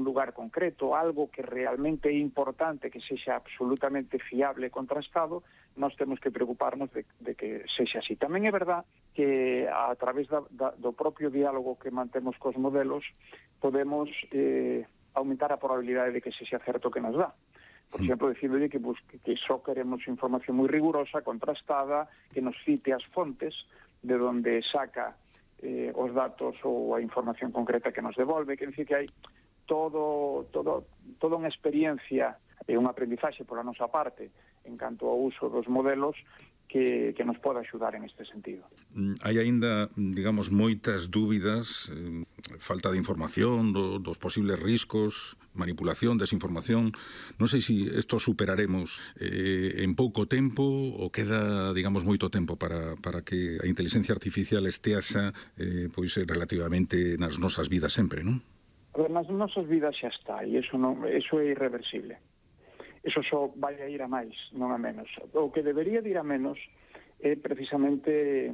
lugar concreto, algo que realmente é importante, que sexa absolutamente fiable e contrastado, nós temos que preocuparnos de que sexa así. Tamén é verdad que a través do propio diálogo que mantemos cos modelos podemos aumentar a probabilidade de que sexa certo que nos dá. Por exemplo, dicíndolle que só queremos información moi rigurosa, contrastada, que nos cite as fontes de onde saca os datos ou a información concreta que nos devolve. Quer dizer que hai toda unha experiencia e un aprendizaxe pola nosa parte en canto ao uso dos modelos que nos pode axudar en este sentido. Hai aínda, digamos, moitas dúbidas, falta de información, dos posibles riscos, manipulación, desinformación. Non sei se isto superaremos en pouco tempo ou queda, digamos, moito tempo para que a inteligencia artificial esteasa pois relativamente nas nosas vidas sempre, non? A ver, nas nosas vidas xa está, e iso é irreversible. Eso só vai a ir a máis, non a menos. O que debería de ir a menos é precisamente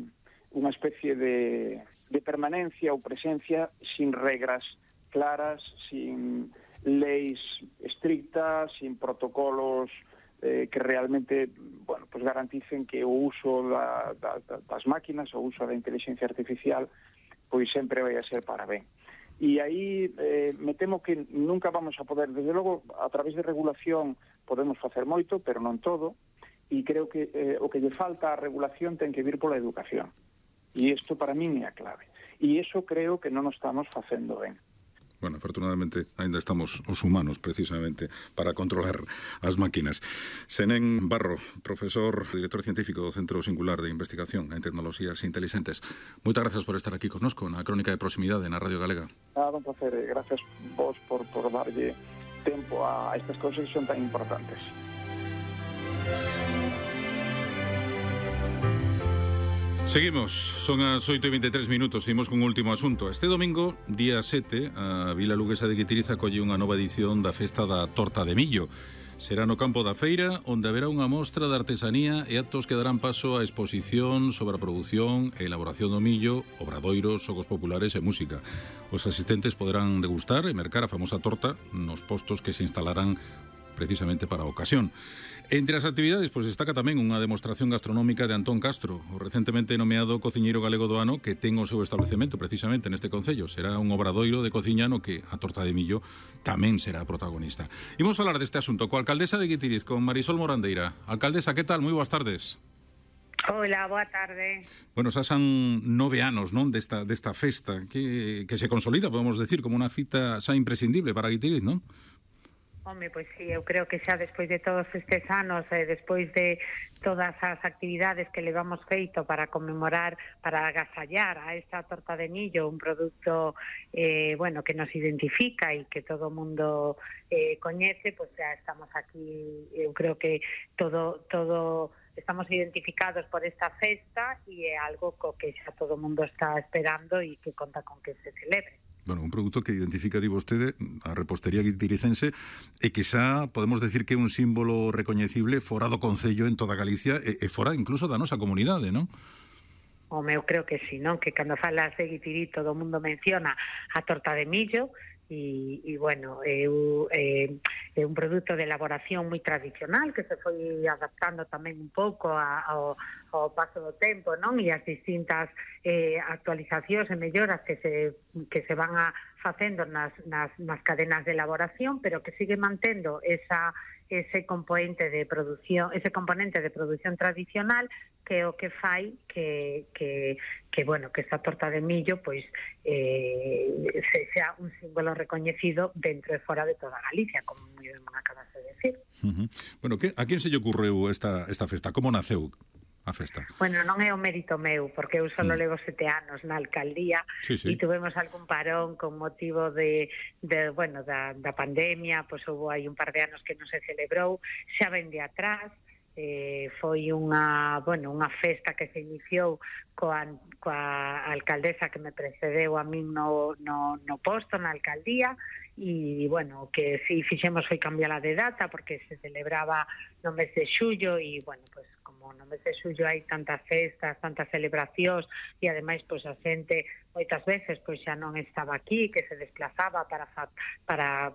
unha especie de permanencia ou presencia sin regras claras, sin leis estrictas, sin protocolos que realmente, bueno, pues garanticen que o uso das máquinas, o uso da inteligencia artificial, pois sempre vai a ser para ben. E aí me temo que nunca vamos a poder, desde logo, a través de regulación podemos facer moito, pero non todo, e creo que o que lle falta á regulación ten que vir pola educación. E isto para min é a clave. E iso creo que non o estamos facendo ben. Bueno, afortunadamente, ainda estamos os humanos, precisamente, para controlar as máquinas. Senén Barro, profesor, director científico do Centro Singular de Investigación en Tecnoloxías Inteligentes. Moitas gracias por estar aquí connosco na Crónica de Proximidade na Radio Galega. Un placer. Gracias vos por darlle tempo a estas cousas que son tan importantes. Seguimos, son as 8:23 minutos, seguimos con un último asunto. Este domingo, día 7, a Vila Luguesa de Guitiriz acolle unha nova edición da Festa da Torta de Millo. Será no campo da feira, onde haberá unha mostra de artesanía e actos que darán paso a exposición sobre a produción e elaboración do millo, obradoiros, xogos populares e música. Os asistentes poderán degustar e mercar a famosa torta nos postos que se instalarán precisamente para a ocasión. Entre as actividades, pois destaca tamén unha demostración gastronómica de Antón Castro, o recentemente nomeado cociñeiro galego do ano, que ten o seu establecemento precisamente neste concello. Será un obradoiro de cociña no que a torta de millo tamén será protagonista. Imos falar deste asunto coa alcaldesa de Guitiriz, con Marisol Morandeira. Alcaldesa, que tal? Moi boas tardes. Hola, boa tarde. Bueno, xa son 9 anos, non, desta festa que se consolida, podemos decir, como unha cita xa imprescindible para Guitiriz, non? Home, pois sí, eu creo que xa despois de todos estes anos, despois de todas as actividades que levamos feito para conmemorar, para agasallar a esta torta de millo, un produto bueno, que nos identifica e que todo o mundo coñece, pois xa estamos aquí, eu creo que todo estamos identificados por esta festa e é algo co que xa todo o mundo está esperando e que conta con que se celebre. Bueno, un produto que identifica, di vostede, a repostería guitiricense e que xa podemos decir que é un símbolo recoñecible fora do concello en toda Galicia e fora incluso da nosa comunidade, non? Home, eu creo que sí, non? Que cando falas de Guitiriz todo o mundo menciona a torta de millo e bueno, é un produto de elaboración moi tradicional que se foi adaptando tamén un pouco ao paso do tempo, non? E as distintas actualizacións e melloras que se van facendo nas cadenas de elaboración, pero que sigue mantendo ese componente de produción tradicional, que é o que fai que bueno, que esta torta de millo pois sea un símbolo recoñecido dentro e fora de toda Galicia, como moi ben acabas de decir. Bueno, a quen se lle ocurreu esta festa? Como naceu a festa? Bueno, non é o mérito meu, porque eu só levo 7 anos na alcaldía e tuvemos algún parón con motivo da pandemia, pois houve aí un par de anos que non se celebrou, xa ven de atrás. Foi unha festa que se iniciou coa alcaldesa que me precedeu a min no posto na alcaldía e, bueno, que si fixemos foi cambiala de data porque se celebraba no mes de xullo e, bueno, pues como no mes de xullo hai tantas festas, tantas celebracións e ademais pois a xente moitas veces pois xa non estaba aquí, que se desplazaba para